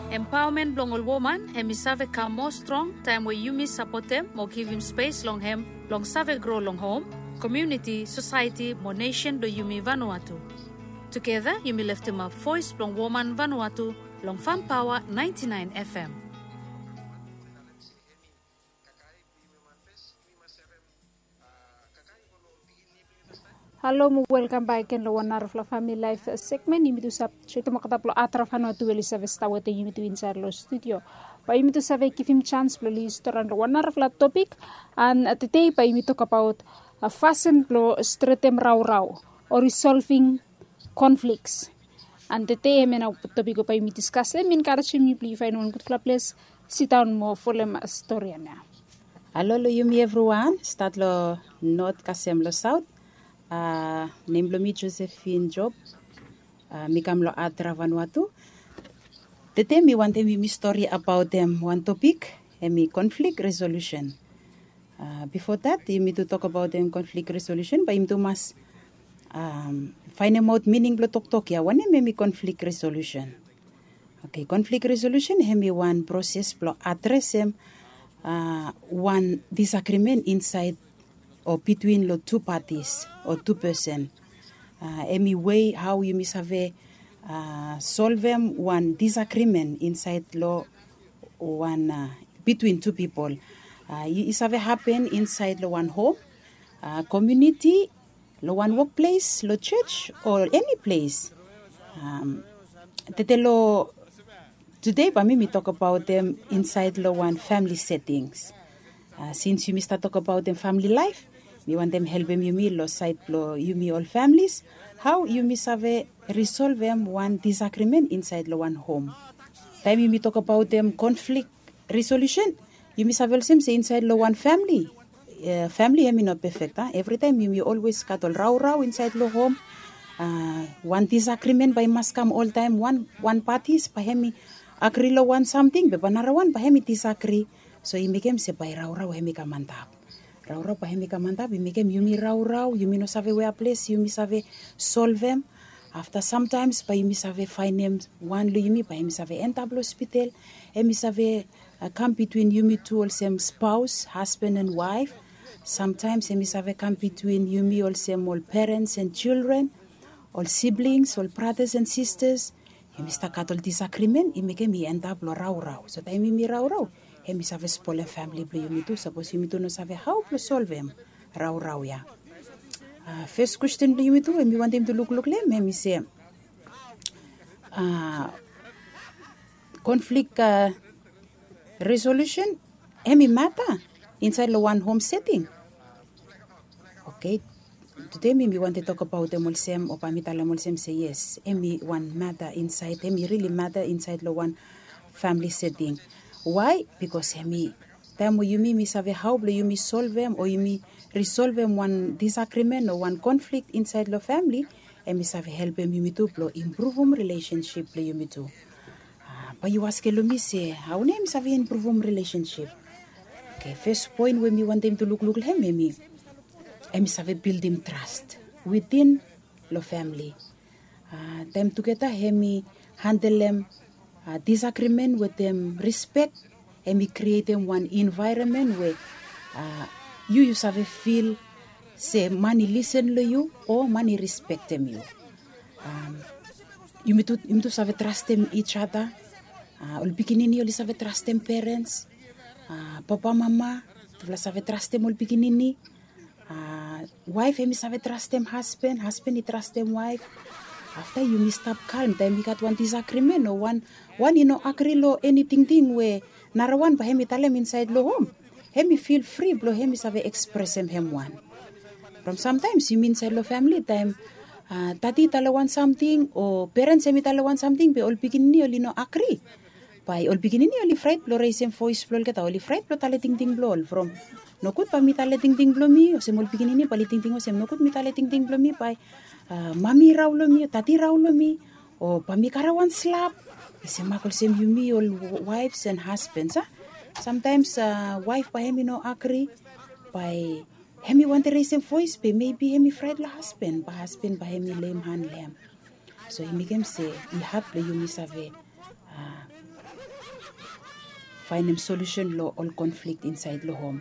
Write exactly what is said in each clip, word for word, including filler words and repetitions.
Empaomen blong ol woman hem i save kam moa strong taem we yumi sapotem mo givim spes long hem blong save gro long hom, komuniti, sosaeti mo nesen blong yumi Vanuatu. Tugeta yumi leftemap voes blong woman Vanuatu long Fam Paoa naenti naen F M. Halo mo welkam bak gen long wan narafala famili laef segmen. Yumi tu save tretem olgeta blong adraf Vanuatu we oli save stap wetem yumi tu insaed long studio. Bae yumi tu save givim janis blong oli storian long wan narafala topik. An tede bae yumi tokbaot fasin blong stretem raorao o risolving konfliks. An tede hemia nao topik we bae yumi diskasem i enkarejem yu blong yu faenem wan gudfala ples sidaon mo folem storian ya. Halo long yumi evriwan, stat long not kasem long saot. Nem blong mi Josephine Job. Mi kam long adraf Vanuatu. Tede mi wantem yumi stori abaotem wan topik, hemi konflik resolusen. Bifo dat yumi tu tokbaotem konflik resolusen bae yumi tu mas faenemaot mining blong toktok ya, wanem hemi konflik resolusen. Oke, konflik resolusen hemi wan proses blong adresem wan disagrimen insaed o bitwin long tu patis o tu pesen. Hemi wei hao yumi save solvem wan disagrimen insaed long wan bitwin tu pipol. I save hapen insaed long wan hom, komuniti, long wan wokples, long jos o eni ples. Tede long tude bae mi mi tokbaotem insaed long wan famili setings. Sins yumi stap tokbaotem famili laef, mi wantem helpem yumi long saed blong yumi ol familis, hao yumi save risolvem wan disagrimen insaed long wan hom. Taem yumi tokbaotem konflik resolusen, yumi save olsem se insaed long wan famili, famili hemi no pefek a. Evritaem yumi olwes gat ol raorao insaed long hom. Wan disagrimen bae i mas kam oltaem. Wan patis bae hemi agri long wan samting be bae narawan bae hemi disagri. So i mekem se bae raorao hemi kam antap. Raorao bae hemi kam antap, i mekem yumi raorao, yumi no save wea ples yumi save solvem. Afta samtaems bae yumi save faenem wan long yumi bae hemi save endap long hospital. Hemi save kam bitwin yumi tu olsem spaos, hasban an waef. Samtaems hemi save kam bitwin yumi olsem ol perens an jildren, ol siblings, ol bratas an sistas. Yumi stap gat ol disagrimen i mekem i endap long raorao. So taem yumi raorao, hemi save spolem famili blong yumi tu sapos yumi tu no save hao blong solvem raorao ya. Fes kwesten blong yumi tu we mi wantem tu lukluk long hem hemi se, konflik resolusen hemi mata insaed long wan hom seting. Oke, tude mi mi wantem tokbaotem olsem o bae mi talem olsem se yes, hemi wan mata insaed, hemi rili mata insaed long wan famili seting. Wae? Bikos hemi taem we yumi mi save hao blong yumi solvem o yumi risolvem wan disagrimen o wan konflik insaed long famili, hemi save helpem yumi tu blong impruvum rilesensip blong yumi tu. Bae yu askem long mi se hao nao hemi save impruvum rilesensip? Oke, fes poen we mi wantem tu lukluk long hem hemi, hemi save bildim tras witin long famili. Taem tugeta hemi handelem disagrimen wetem rispek, hemi krietem wan envaeronmen we yu yu save fil se man i lisen long yu o man i rispektem yu. Yumi tu save trastem ijada. Ol pikinini oli save trastem perens. Papa, mama, tufala save trastem ol pikinini. Waef hemi save trastem hasban, hasban i trastem waef. Afta yumi stap kalm taem i gat wan disagrimen o wan i no agri long eni tingting we narawan bae hemi talem insaed long hom. Hemi fil fri blong hemi save ekspresem hem wan. From samtaems yumi insaed long famili taem dadi i talem wan samting o perens hemi talem wan samting be ol pikinini oli no agri. Bae ol pikinini oli fraet blong resem voes blong olgeta, oli fraet blong talem tingting blong ol from nogud bae mi talem tingting blong mi olsem ol pikinini bae oli tingting olsem nogud mi talem tingting blong mi bae mami i rao long mi o dadi i rao long mi o bae mi karem wan slap. I semak olsem yumi ol waefs an hasbans a. Samtaems waef bae hemi no agri bae hemi wantem resem voes be mebi hemi fraet long hasban bae hasban bae hemi leim han long hem. So i mekem se i had blong yumi save faenem solusen long ol konflik insaed long hom.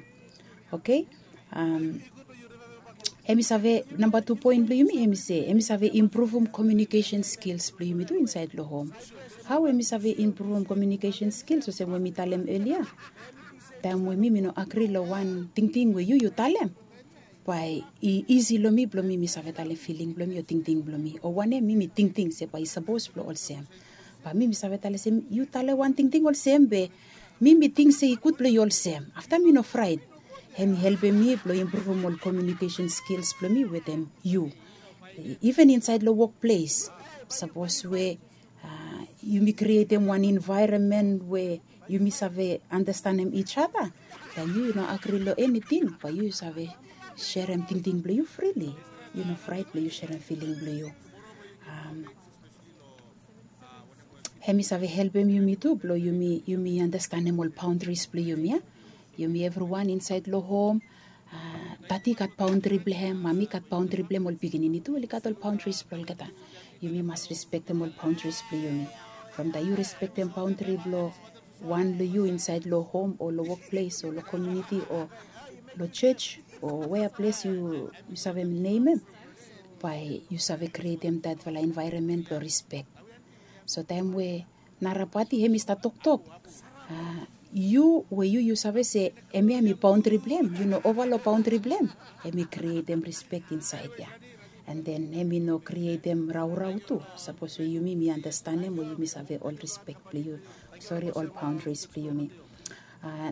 Oke. Hem i save namba tu poen blong yumi hem i se hem i save impruvum komiunikesen skils blong yumi tu insaed long hom. Hao hem i save impruvum komiunikesen skils olsem we mi talem elia, taem we mi mi no agri long wan tingting we yu yu talem, bae i isi long mi blong mi mi save talem filing blong mi o tingting blong mi o wanem mi mi tingting se bae i sapos blong olsem. Bae mi mi save talem se yu talem wan tingting olsem be mi mi ting se i gud blong yu olsem, afta mi no fraet. Hem i helpem mi blong impruvum ol komiunikesen skils blong mi wetem yu. Iven insaed long wokples, sapos we yumi krietem wan envaeronmen we yumi save andastanem ij ada, bae yu yu no agri long eniting bae yu yu save serem tingting blong yu frili. Yu no fraet blong yu serem filing blong yu. Hem i save helpem yumi tu blong yumi yumi andastanem ol baondris blong yumi ya. Yumi evriwan insaed long hom, dadi i gat baondri blong hem, mami i gat baondri blong hem, ol pikinini tu oli gat ol baondris blong olgeta. Yumi mas respektem ol baondris blong yumi. From taem yu respektem baondri blong wan long yu insaed long hom o long wokples o long komiuniti o long jos o wea ples yu save nemem, bae yu save krietem datfala envaeronmen blong rispek. So taem we nara pati hem i stap toktok, yu we yu yu save se hemia hem i baondri blong hem, yu no ova long baondri blong hem, hem i krietem rispek insaed ya. An den hem i no krietem raorao tu. Sapos we yumi mi andastanem o yumi save ol rispek blong yu, sori, ol baondris blong yumi.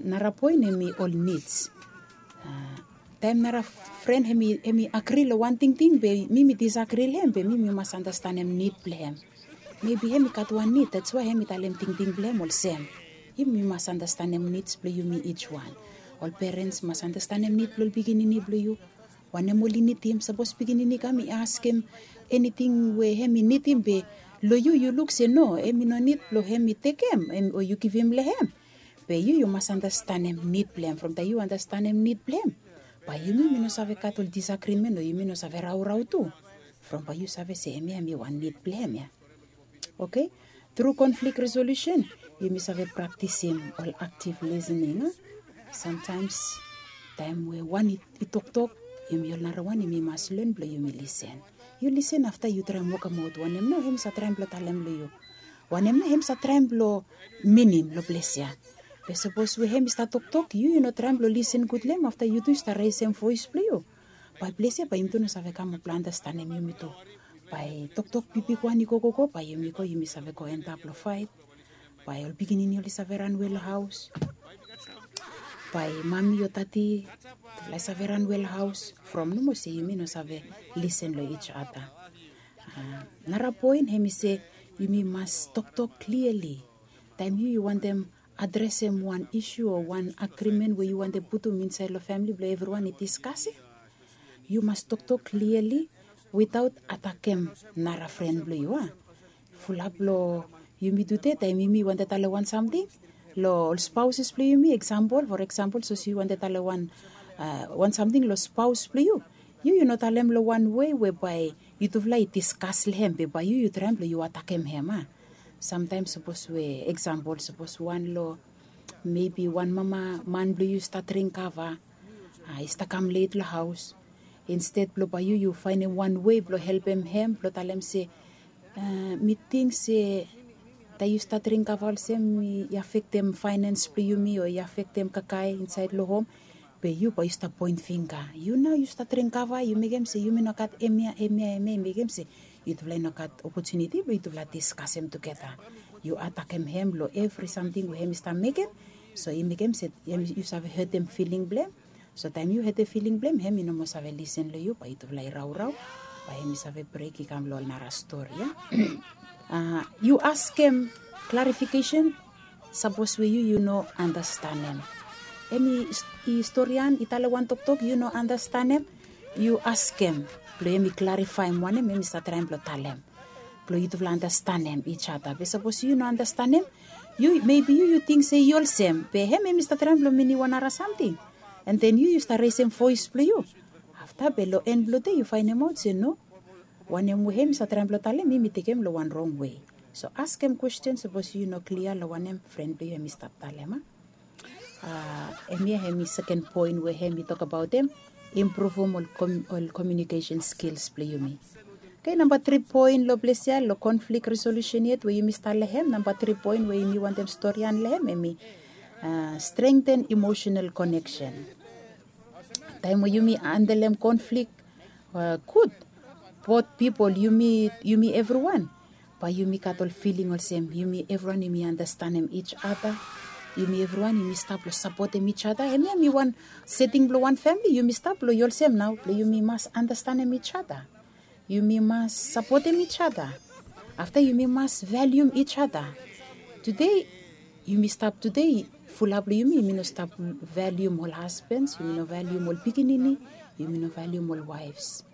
Nara poen hem i ol nids. Taem nara fren hem i agri long wan tingting be mi mi disagri long hem, be mi mi mas andastanem nid blong hem. Mebi hem i gat wan nid, dats wae hem i talem tingting blong hem olsem. Yumi mas andastanem nids blong yumi ij wan. Ol perens mas andastanem nid blong ol pikinini blong yu. Wanem oli nidim, sapos pikinini i kam i askem eniting we hem i nidim be long yu yu luk se no, hem i no nid blong hem i tekem o yu givim long hem. Be yu yu mas andastanem nid blong hem. From taem yu andastanem nid blong hem, bae yumi mi no save gat ol disagrimen o yumi no save raorao tu. From bae yu save se hemia hem i wan nid blong hem ya. Oke. Tru konflik resolusen yumi save praktisim ol aktiv lisening a. Samtaems taem we wan i toktok, yumi ol narawan yumi mas len blong yumi lisen. Yu lisen afta yu traem wokemaot wanem nao hem i save traem blong talem long yu. Wanem nao hem i save traem blong minim long ples ya. Be sapos we hem i stap toktok yu yu no traem blong lisen gud long hem, afta yu tu yu stap resem voes blong yu, bae ples ya bae yumi tu no save kam blong andastanem yumi tu. Bae toktok bigbigwan i gogogo bae yumi go yumi save go antap long faet. Bae ol pikinini oli save ranwe long haos. Bae mami o dadi tufala i save ranwe long haos from nomo se yumi no save lisen long ij ada. Nara poen hem i se yumi mas toktok kliali. Taem yu yu wantem adresem wan isu o wan agrimen we yu wantem putum insaed long famili blong evriwan i diskasem, yu mas toktok kliali witaot atakem nara fren blong yu a. Fulap long yumi tude taem yumi wantem talem wan samting long ol spaoses blong yumi, eksampol, for eksampol sapos yu wantem talem wan wan samting long spaos blong yu, yu yu no talem long wan wei we bae yutufala i diskas long hem be bae yu yu traem blong yu atakem hem a. Samtaem sapos we eksampol sapos wan long mebi wan mama man blong yu i stap dring kava, i stap kam let long haos. Insted blong bae yu yu faenem wan wei blong helpem hem blong talem se mi ting se taem yu stap dring kava olsem i afektem faenens blong yumi o i afektem kakae insaed long hom. Be yu bae yu stap poen fingga, yu nao yu stap dring kava yu mekem se yumi no gat hemia hemia hemia i mekem se yutufala i no gat opotuniti blong yutufala diskasem tugeta. Yu atakem hem long evri samting we hem i stap mekem. So i mekem se yu save hetem filing blong hem. So taem yu hetem filing blong hem hem i no moa save lisen long yu bae yutufala i raorao. Bae hem i save brek i kam long ol nara stori ya. Yu askem klarifikesen sapos we yu yu no andastanem. Hem i storian i talem wan toktok yu no andastanem, yu askem blong hem i klarifaem wanem hem i stap traem blong talem blong yutufala andastanem ij ada. Be sapos yu no andastanem, yu mebi yu yu ting se i olsem be hem hem i stap traem blong minim wan nara samting. An den yu yu stap resem voes blong yu. Afta be long en blong de yu faenemaot se no, wanem we hem i stap traem blong talem mi mi tekem long wan rong wei. So askem kwesten sapos yu no klia long wanem fren blong yu hem i stap talem a. Hemia hem i seken poen we hem i tokabaotem impruvum ol komiunikesen skils blong yumi. Oke, namba tri poen long ples ya long konflik resolusen yet we yumi stap long hem, namba tri poen we yumi wantem storian long hem hem i strengten emosenal koneksen. Taem we yumi handelem konflik gud, bot pipol, yumi evriwan, bae yumi gat ol filing olsem yumi evriwan yumi anastenem ij ada. Yumi evriwan yumi stap long sapotem ij ada. Hemia hem i wan seting blong wan famili, yumi stap long yu olsem nao blong yumi mas anastenem ij ada. Yumi mas sapotem ij ada. Afta yumi mas valium ij ada. Tude yumi stap tude, fulap long yumi yumi no stap valium ol hasbens, yumi no valium ol pikinini, yumi no valium ol waefs.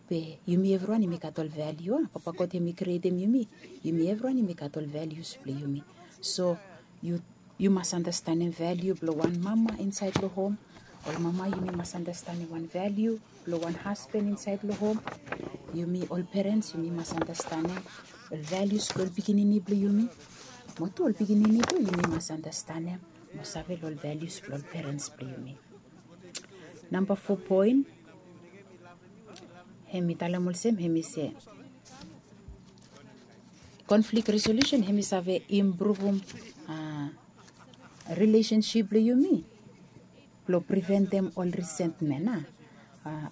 Be yumi evriwan yumi gat ol valiu a papa god hem i krietem yumi. Yumi evriwan yumi gat ol valius blong yumi. So yu mas anastenem valiu blong wan mama insaed long hom. Ol mama yumi mas anastenem wan valiu blong wan hasben insaed long hom. Yumi ol perens yumi mas anastenem ol valius blong ol pikinini blong yumi. Mo tu ol pikinini tu yumi mas anastenem mo save long ol valius blong ol perens blong yumi. Namba fo poen hem i talem olsem hem i se konflik resolusen hem i save impruvum rilesensip blong yumi blong priventem ol risentmen a.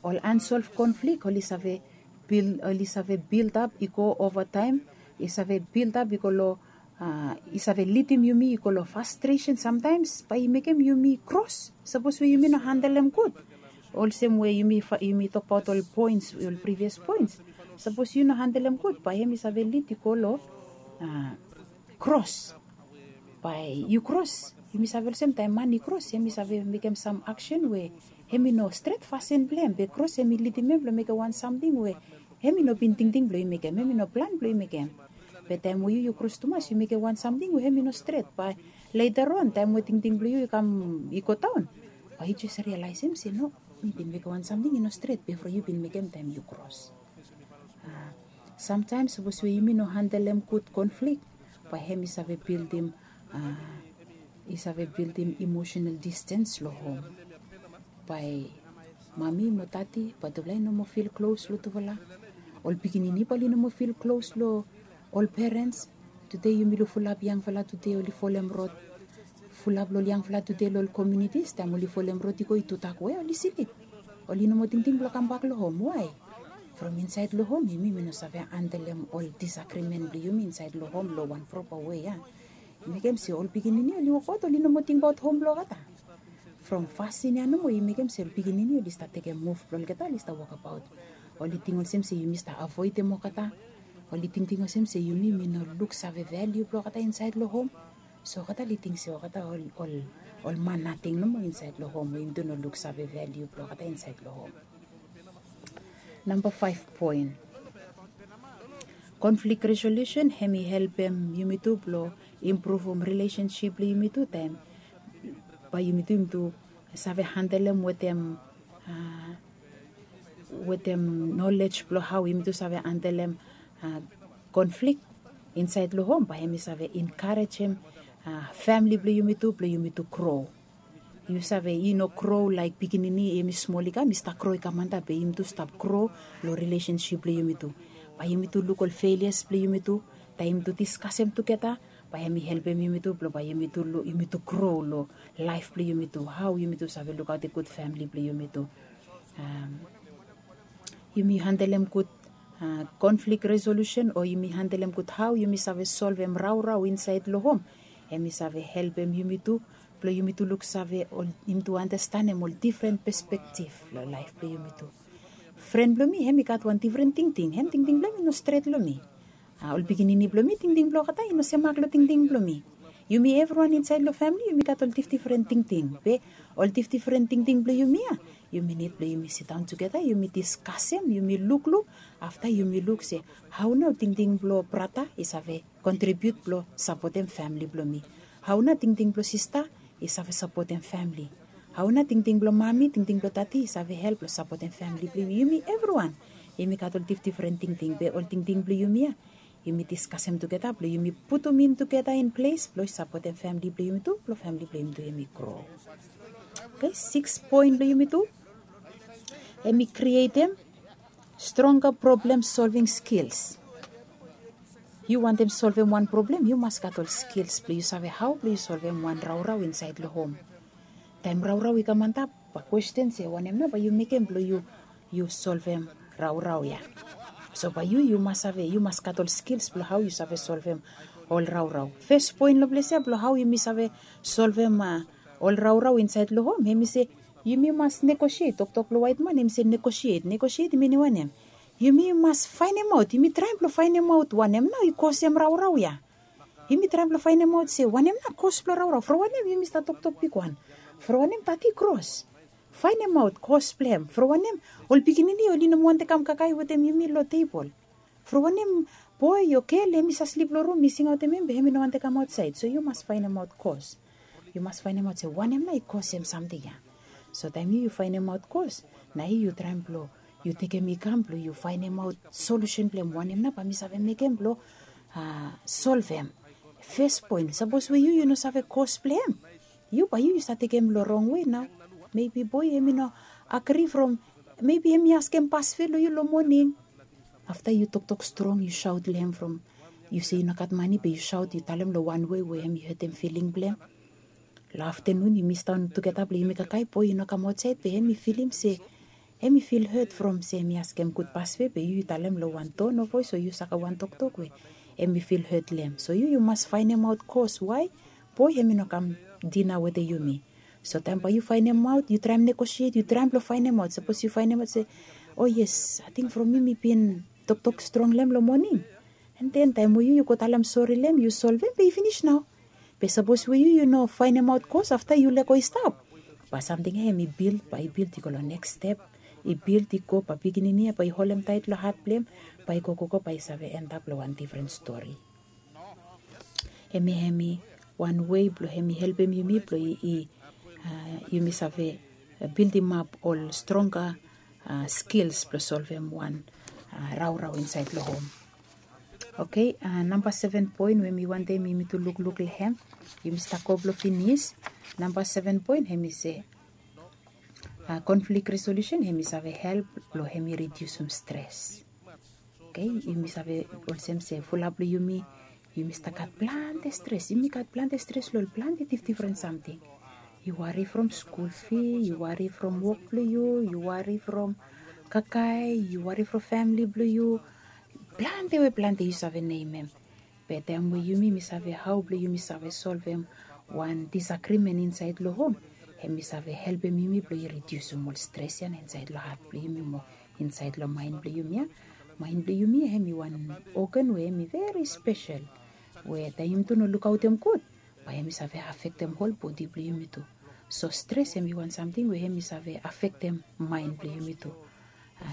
Ol ansolv konflik oli save bil ol i save bildap i go ovataem, i save bildap i go long i save lidim yumi i go long fastresen samtaems bae i mekem yumi kros sapos we yumi no handelem gud. Olsem we yumi tokbaot ol poens ol privias poens, sapos yu no handelem gud bae hem i save lid i go long kros. Bae yu kros yumi save olsem taem man i kros hem i save mekem sam aksen we hem i no stret fasin blong hem be kros hem i lidim hem blong mekem wan samting we hem i no bin tingting blong i mekem hem i no plan blong i mekem. Be taem we yu yu kros tumas yu mekem wan samting we hem i no stret bae leta ron taem we tingting blong yu i kam i godaon, bae yu jes rialaesem se no, mi bin mekem wan samting i no stret bifo yu bin mekem taem yu kros. Samtaems sapos we yumi no handelem gud konflik bae hem i save bildim i save bildim imosenal distens long hom. Bae mami mo dadi bae tufala i no moa fil klos long tufala. Ol pikinini bae oli no moa fil klos long ol perens. Tude yumi luk fulap yangfala tude oli folem rod. Fulap long ol yangfala tude long ol komiunitis taem oli folem rod i go i tudak we oli slip. Oli no moa tingting blong kambak long hom wae? From insaed long hom yumi mi no save handelem ol disagrimen blong yumi insaed long hom long wan propa we ya. I mekem se ol pikinini oli wokabaot oli no moa tingbaot hom blong olgeta. From fasin ya nomo i mekem se ol pikinini oli stap tekem muv blong olgeta oli stap wokabaot. Oli ting olsem se yumi stap avoedem olgeta. Oli tingting olsem se yumi mi no luksave valiu blong olgeta insaed long hom. So olgeta oli ting se olgeta ol man nating nomo insaed long hom we yumi tu no luksave valiu blong olgeta insaed long hom. Namba faef poen, konflik resolusen hem i helpem yumi tu blong impruvum rilesensip blong yumi tu taem bae yumi tu yumi tu save handelem wetem wetem nolej blong hao yumi tu save handelem konflik insaed long hom bae hem i save enkarejem famili blong yumi tu blong yumi tu gro. Yu save i no gro laek pikinini hem i smol i kam i stap gro i kam antap be yumi tu stap gro long rilesensip blong yumi tu. Bae yumi tu luk ol felias blong yumi tu taem yumi tu diskasem tugeta bae hem i helpem yumi tu blong bae yumi tu gro long laef blong yumi tu hao yumi tu save lukaotem gud famili blong yumi tu. Yumi handelem gud konflik resolusen o yumi handelem gud hao yumi save solvem raorao insaed long hom. Hem i save helpem yumi tu blong yumi tu luksave ol yumi tu anastenem ol difren pespektif long laef blong yumi tu. Fren blong mi hem i gat wan difren tingting hem tingting blong hem i no stret long mi. Ol pikinini blong mi tingting blong olgeta i no semak long tingting blong mi. Yumi evriwan insaed long famili yumi gat ol difdifren tingting be ol difdifren tingting blong yumi ya yumi nid blong yumi sidaon tugeta yumi diskasem yumi lukluk afta yumi luk se hao nao tingting blong brata i save kontribiut blong sapotem famili blong mi? Hao nao tingting blong sista i save sapotem famili? Hao nao tingting blong mami tingting blong dadi i save help blong sapotem famili blong yumi? Yumi evriwan yumi gat ol difdifren tingting be ol tingting blong yumi ya Yumi diskasem tugeta blong yumi putum in tugeta in ples blong sapotem famili blong yumi tu, blong famili blong yumi tu yumi gro. Oke, siks poen blong yumi tu, hemi krietem stronga problem solving skils. Yu wantem solvem wan problem, yu mas gat ol skils blong yu save hao blong yu solvem wan raorao insaed long hom. Taem raorao i kam antap, bae kwesten se wanem nao bae yu mekem blong yu yu solvem raorao ya. So bae yu yu mas save, yu mas gat ol skils blong hao yu save solvem ol raorao. Fes poen long ples ya blong hao yumi save solvem ol raorao insaed long hom, hemi se yumi mas negosiet. Toktok blong waet man hemi se negosiet. Negosiet i minim wanem? Yumi mas faenemaot, yumi traem blong faenemaot wanem nao i kosem raorao ya. Yumi traem blong faenemaot se wanem nao kos blong raorao. From wanem yumi stat toktok bigwan? From wanem tati i kros? Faenemaot kos blong hem. From wanem ol pikinini oli no moa wantem kam kakae wetem yumi long tebol? From wanem boe o gel hemi save slip long rum, mi singaotem hem be hemi no wantem kam aotsaed? So yu mas faenemaot kos. Yu mas faenemaot se wanem nao i kosem samting ya. So taem yu yu faenemaot kos, nao yu yu traem blong yu tekem i kam blong yu faenemaot solusen blong hem. Wanem nao bae mi save mekem blong solvem? Fes poen, sapos we yu yu no save kos blong hem, yu bae yu yu save tekem long rong wei nao. Mebi boe hemi no agri from, mebi hemi askem pasve long yu long moning. Afta yu toktok strong, yu saot long hem from, yu se yu no gat mane be yu saot, yu talem long wan wei we hemi hetem filing blong hem. Long aftenun yumi sidaon tugeta blong yumi kakae, boe i no kam aotsaed be hemi filim se hemi fil het from se hemi askem gud pasve be yu yu talem long wan ton of voes o yu saga wan toktok we hemi fil het long hem. So yu yu mas faenemaot kos wae boe hemi no kam dina wetem yumi. So taem bae yu faenemaot, yu traem negosiet, yu traem blong faenemaot. Sapos yu faenemaot se, o yes, ating from mi mi bin toktok strong long hem long moning, and then taem we yu yu go talem sori long hem, yu solvem be i finis nao. Be sapos we yu yu no faenemaot kos, afta yu lego i stap, bae samting ya hemi bild, bae i bild i go long neks step, i bild i go, bae pikinini ya bae i holem taet long hat blong hem, bae i gogogo bae i save endap long wan difren stori. Hemia hemi wan wei blong hemi helpem yumi blong i, i, yumi save bildimap ol stronga skils blong solvem wan raorao insaed long hom. Oke, namba seven poen we mi wantem yumi tu lukluk long hem. Yumi stap go blong finis. Namba seven poen hemi se, konflik resolusen hemi save help blong hemi ridiusum stres. Oke, yumi save olsem se fulap blong yumi, yumi stap gat plante stres. Yumi gat plante stres long ol plante difdifren samting. Yu wari from skul fi, yu wari from wok blong yu, yu wari from kakae, yu wari from famili blong yu. Plante we plante yu save nemem. Be taem we yumi mi save hao blong yumi save solvem wan disagrimen insaed long hom, hemi save helpem yumi blong i ridiusum ol stres ya nao insaed long hat blong yumi mo insaed long maen blong yumi ya. Maen blong yumi ya hemi wan ogan we hemi veri spesel, we taem yumi tu no lukaotem gud, bae hemi save afektem hol bodi blong yumi tu. So stres hemi wan samting we hemi save afektem maen blong yumi tu.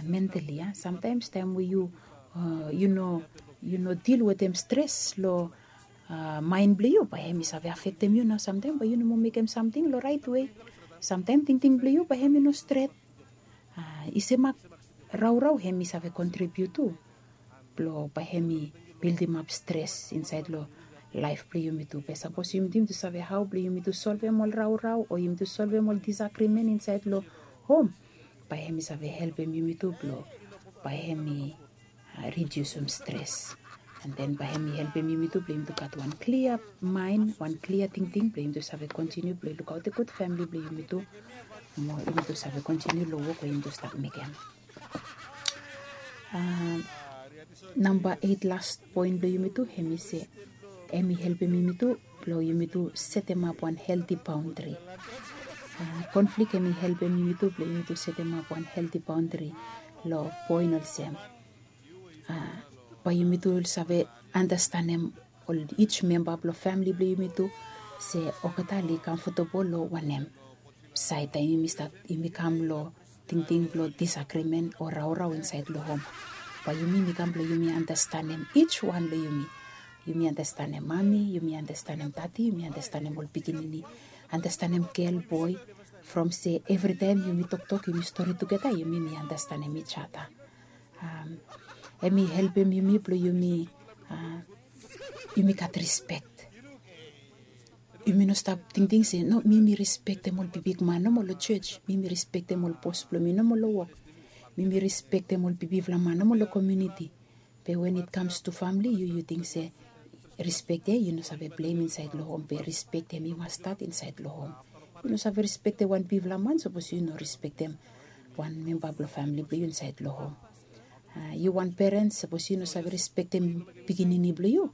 Mentali ya, samtaems taem we yu, yu no, yu no dil wetem stres long maen blong yu, bae hemi save afektem yu nao. Samtaem bae yu no moa mekem samting long raet wei. Samtaem tingting blong yu bae hemi no stret. I semak raorao hemi save kontribiut tu blong bae hemi bildimap stres insaed long laef blong yumi tu. Be sapos yumi tu yumi tu save hao blong yumi tu solvem ol raorao o yumi tu solvem ol disagrimen insaed long hom, bae hemi save helpem yumi tu blong bae hemi ridiusum stres. And then bae hemi helpem yumi tu blong yumi tu gat wan klia maen, wan klia tingting blong yumi tu save kontiniu blong lukaotem gud famili blong yumi tu, mo yumi tu save kontiniu long wok we yumi tu stap mekem. Namba eit, las poen blong yumi tu, hemi se hemi helpem yumi tu blong yumi tu setemap wan helti baondri. Konflik hemi helpem yumi tu blong yumi tu setemap wan helti baondri long poen olsem, bae yumi tu save andastanem ol ij memba blong famili blong yumi tu se olgeta oli kamfotebol long wanem saed taem yumi stat, yumi kam long tingting blong disagrimen o raorao insaed long hom. Bae yumi mi kam blong yumi andastanem ij wan blong yumi. Yumi andastanem mami, yumi andastanem dadi, yumi andastanem ol pikinini, andastanem gel, boe, from se evritaem yumi toktok, yumi stori tugeta, yumi mi andastanem ij ada. Hemi helpem yumi blong yumi Yumi gat respek. Yumi no stap tingting se no, mi mi respektem ol bibik man nomo long jos, mi mi respektem ol bos blong mi nomo long wok, mi mi respektem ol bibifala man nomo long komiuniti. Be wen it kams tu famili yu yu ting se respek ya yu no save blem insaed long hom be respek ya mi mas stat insaed long hom. Yu no save respektem wan bifala man sapos yu no respektem wan memba blong famili blong yu insaed long hom. Yu wan perens sapos yu no save respektem pikinini blong yu,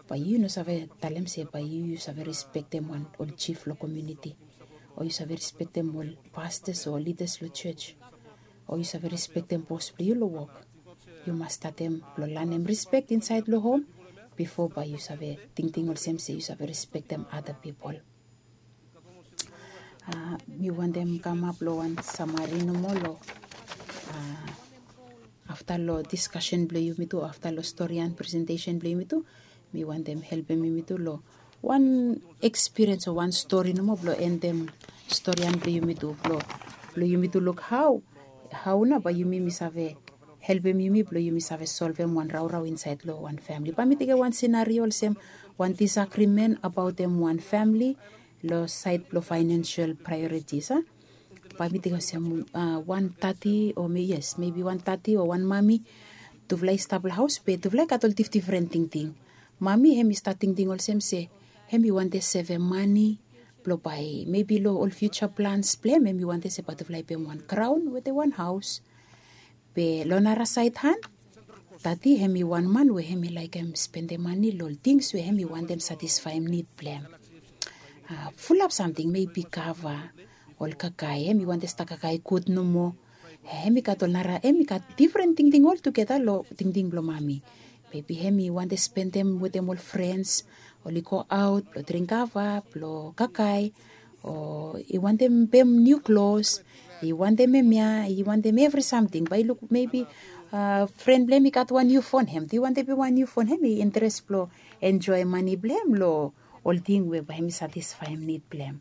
bae yu no save talem se bae yu yu save respektem wan ol jif long komiuniti, o yu save respektem ol pastas o lidas long jos, o yu save respektem bos blong yu long wok. Yu mas statem blong lanem respek insaed long hom bifo bae yu save tingting olsem se yu save respektem ada pipol. Mi wantem kamap long wan samari nomo long afta long diskasen blong yumitu afta long storian presentesen blong yumitu. Mi wantem helpem yumitu long wan ekspiriens o wan stori nomo blong endem storian blong yumitu blong yumitu luk hao hao nao bae yumi mi save helpem yumi blong yumi save solvem wan raorao insaed long wan famili bae mi tekem wan sinario olsem wan disagrimen abaotem wan famili long saed blong faenensel praeoritis a. Bae mi tekem olsem wan tati o yes mebi wan tati o wan mami, tufala i stap long haos be tufala i gat ol difdifren tingting. Mami hem i stat tingting olsem se hem i wantem sevem mani blong bae mebi long ol fiuja plans blong hem hem i wantem se bae tufala i pem wan graon wetem wan haos. Be long nara saed han, tati hem i wan man we hem i laekem spendem mani long ol tings we hem i wantem satisfaem nid blong hem. Fulap samting mebi kava, ol kakae hem i wantem stap kakae gud nomo. Hem i gat ol nara hem i gat difren tingting oltugeta long tingting blong mami. Mebi hem i wantem spendem wetem ol frens, oli go aot blong dring kava blong kakae, o i wantem pem niu klos, i wantem hemia i wantem evri samting bae i luk mebi fren blong hem i gat wan niu fon hem tu i wantem pem wan niu fon hem i interes blong enjoem mani blong hem long ol ting we bae hem i satisfaem nid blong hem.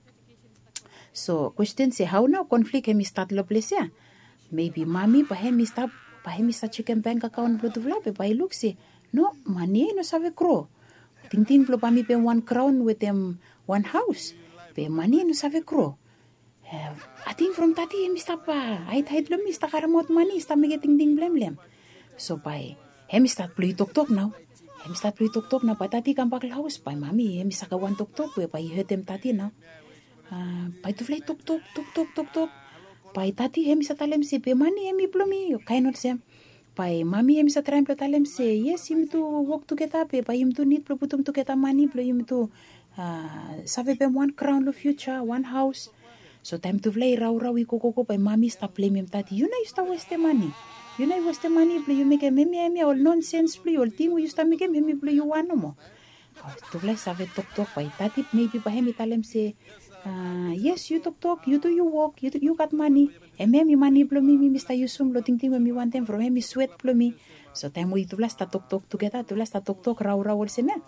So kwesten se hao nao konflik hem i stat long ples ya? Mebi mami bae hem i stap bae hem i stat sekem bank akaon blong tufala be bae i luk se no, mani ya i no save gro. Tingting blong bae mi pem wan graon wetem wan haos, be mani ya i no save gro. Ating from tati hem i stap haedhaed long mi i stap karemaot mani i stap mekem tingting blong hem long hem. So bae hem i stat blong i toktok nao. Hem i stat blong i toktok nao bae tati i kambak long haos bae mami hem i sakem wan toktok we bae i hetem tati nao. Bae tufala i toktok toktok toktok. Bae tati hem i save talem se be mani hem i blong mi o kaen olsem. Bae mami hem i save traem blong talem se yes yumi tu wok tugeta be bae yumi tu nid blong putum tugeta mani blong yumi tu save pem wan graon long fiuja wan haos. So taem tufala i raorao i gogogo bae mami i stap blemem tati yu nao yu stap westem mani. Yu nao yu westem mani blong yu mekem hemia hemia ol nonsens blong yu ol ting we yu stap mekem hemi blong yu wan nomo. Tufala i save toktok bae tati mebi bae hem i talem se yes yu toktok yu tu yu wok yu gat mani. Hemia hemi mani blong mi mi mi stap yusum long tingting we mi wantem from hem i swet blong mi. So taem we yutufala i stap toktok tugeta tufala i stap toktok raorao olsem ya,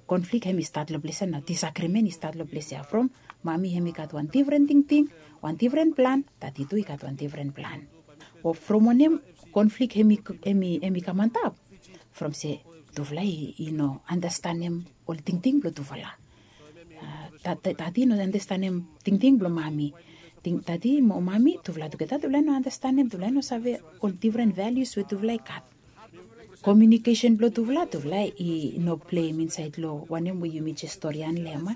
konflik hem i stat long ples ya nao disagrimen i stat long ples ya from mami hem i gat wan difren tingting, wan difren plan, tati tu i gat wan difren plan. O from wanem konflik hem i kam antap? From se tufala i no andastanem ol tingting blong tufala. Tati i no andastanem tingting blong mami. Tati mo mami tufala tugeta tufala i no andastanem tufala i no save ol difren valius we tufala i gat. Komiunikesen blong tufala tufala i no pleim insaed long wanem we yumi jes storian long hem a.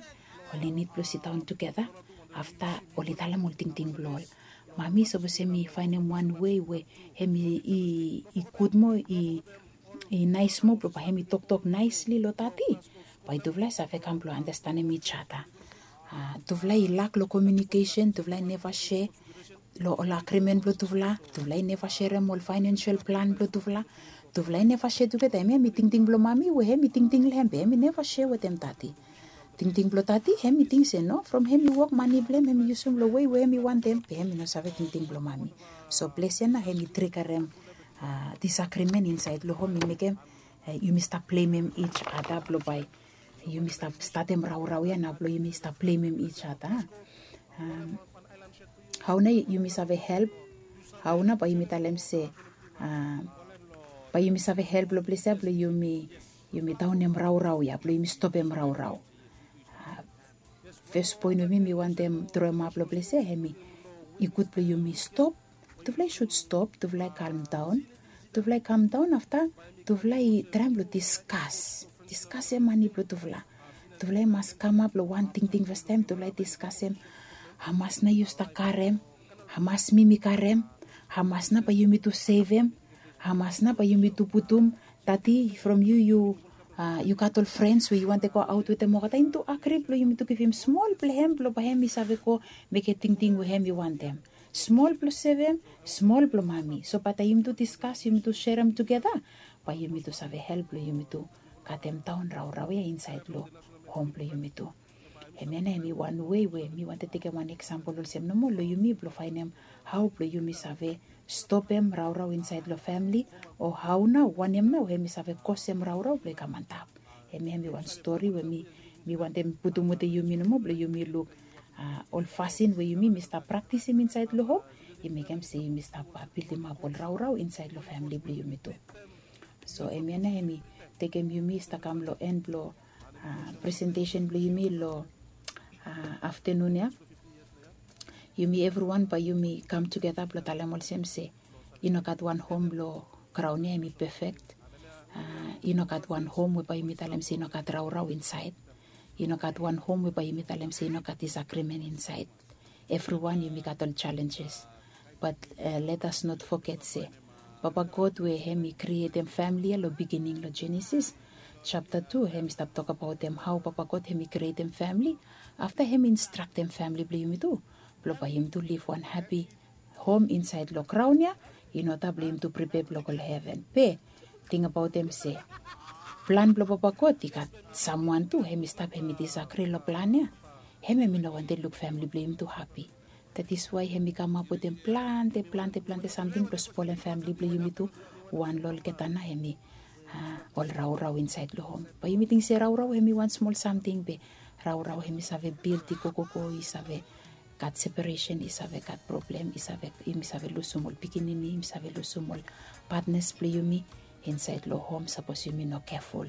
Oli nid blong sidaon tugeta afta oli talem ol tingting blong ol. Mami sapos hem i faenem wan wei we hem i gud moa i naes moa blong bae hem i toktok naesli long tati, bae tufala i save kam blong andastanem ij ada. Tufala i lak long komiunikesen tufala i neva se long ol agrimen blong tufala. Tufala i neva serem ol faenensel plan blong tufala. Tufala i neva se tugeta hemia hem i tingting blong mami we hem i tingting long hem be hem i neva se wetem tati. Tingting blong tati hem i ting se no from hem i wok mani blong hem hem i yusum long wei we hem i wantem be hem i no save tingting blong mami. So ples ya nao hem i trigarem disagrimen insaed long hom i mekem yumi stap plemem ij ada blong bae yumi stap statem raorao ya nao blong yumi stap plemem ij ada. Hao nao yumi save help? Hao nao bae yumi talem se bae yumi save help long ples ya blong yumi yumi daonem raorao ya blong yumi stopem raorao. Fes poen we mi mi wantem droemap long ples ya hem i gud blong yumi stop. Tufala i sud stop, tufala i kalmdaon. Tufala i kamdaon afta tufala i traem blong diskas diskasem mani blong tufala. Tufala i mas kamap long wan tingting fastaem tufala i diskasem, hamas nao yu stap karem? Hamas mi mi karem? Hamas nao bae yumi tu sevem? Hamas nao bae yumi tu putum? Tati from yu yu yu gat ol frens we yu wantem go aot wetem olgeta yumi tu agri blong yumi tu givim smol blong hem blong bae hem i save go mekem tingting we hem i wantem. Smol blong sevem, smol blong mami so bae taem yumi tu diskas yumi tu serem tugeta, bae yumi tu save help blong yumi tu katem daon raorao ya insaed long hom blong yumi tu. Hemia nao hem i wan wei we mi wantem tekem wan eksampol olsem nomo long yumi blong faenem hao blong yumi save stopem raorao insaed long famili, o hao nao wanem nao hem i save kosem raorao blong i kam antap. Hemia hem i wan stori we mi mi wantem putum wetem yumi nomo blong yumi luk ol fasin we yumi mi stap praktisim insaed long hom i mekem se yumi stap bildimap ol raorao insaed long famili blong yumi tu. So hemia nao hem i tekem yumi i stap kam long en blong presentesen blong yumi long aftanun ya. Yumi evriwan bae yumi kam tugeta blong talem olsem se i no gat wan hom long graon ya hem i pefek. I no gat wan hom we bae yumi talem se i no gat raorao insaed. I no gat wan hom we bae yumi talem se i no gat disagrimen insaed. Evriwan yumi gat ol jalenjes. Bat let as not foget se papa god we hem i krietem famili ya long bigining long jenesis japta tu hem i stap tokbaotem hao papa god hem i krietem famili. Afta hem i instraktem famili blong yumi tu blong bae yumi tu liv wan hapi hom insaed long graon ya. I no taem blong yumi tu pripea blong go long heven be tingbaotem se plan blong papa god i gat samwan tu hem i stap hem i disagri long plan ya. Hem hem i no wantem luk famili blong yumi tu hapi. That is wae hem i kamap wetem plante plante plante samting blong spolem famili blong yumi tu. Wan long olgeta nao hem i ol raorao insaed long hom bae yumi ting se raorao hem i wan smol samting be raorao hem i save bildi gogogo i save gat separesen i save gat problem i save yumi save lusum ol pikinini yumi save lusum ol patnas blong yumi insaed long hom sapos yumi no keful.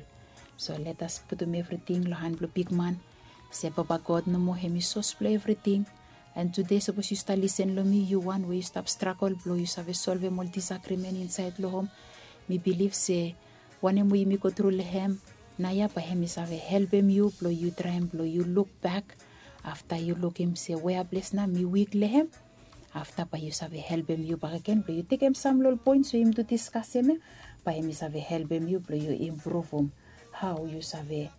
So let as putum evriting long han blong bigman se papa god nomo hem i sos blong evriting. An tude sapos yu stap lisen long mi yu wan we yu stap stragol blong yu save solvem ol disagrimen insaed long hom mi bilif se wanem we yumi gotru long hem naoia bae hem i save helpem yu blong yu traem blong yu lukbak afta yu lukim se wea ples nao mi wik long hem. Afta bae yu save helpem yu bakegen blong yu tekem sam long ol poens we yumi tu diskasem ya bae hem i save helpem yu blong yu impruvum hao yu save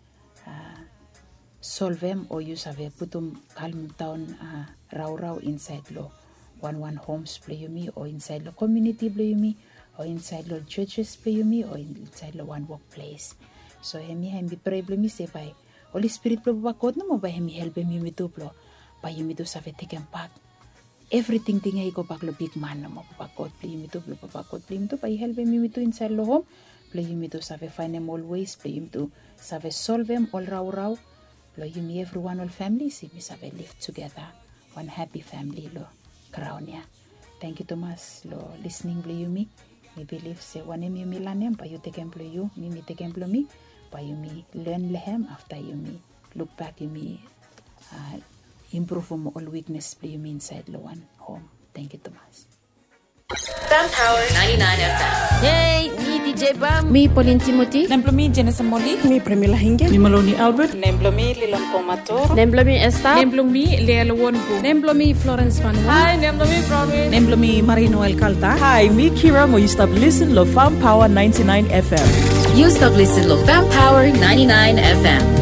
solvem o yu save putum kalmdaon raorao insaed long wanwan homs blong yumi o insaed long komiuniti blong yumi o insaed long ol jojes blong yumi o insaed long wan wokples. So hemia hem i prea blong mi se bae holi spirit blong papa god nomo bae hem i helpem yumi tu blong bae yumi tu save tekem bak evri tingting ya i gobak long bigman nomo papa god blong yumi tu blong papa god blong yumi tu bae i helpem yumi tu insaed long hom blong yumi tu save faenem ol wes blong yumi tu save solvem ol raorao blong yumi evriwan ol famili se yumi save liv tugeta wan hapi famili long graon ya. Tangkiu tumas long lisning blong yumi. Mi bilif se wanem yumi lanem bae yu tekem blong yu mi mi tekem blong mi bae yumi len long hem afta yumi lukbak yumi impruvum ol wiknes blong yumi insaed long wan hom. Tangkiu tumas. Fam Power ninety-nine F M. Hei, mi D J Bam. Mi Pauline Timothy. Nem blong mi Jenesa Moli. Mi Premila Hinge. Mi Maloni Albert. Nem blong mi Lilon Pomator. Nem blong mi Esther. Nem blong mi Lea Lewonbu. Nem blong mi Florence Van Won. Hai, nem blong mi Bronwyn. Nem blong mi Marino Elkalta. Hai, mi Kira mo yu stap lisen long Fam Power ninety-nine F M. Yu stap lisen long Fam Power ninety-nine F M.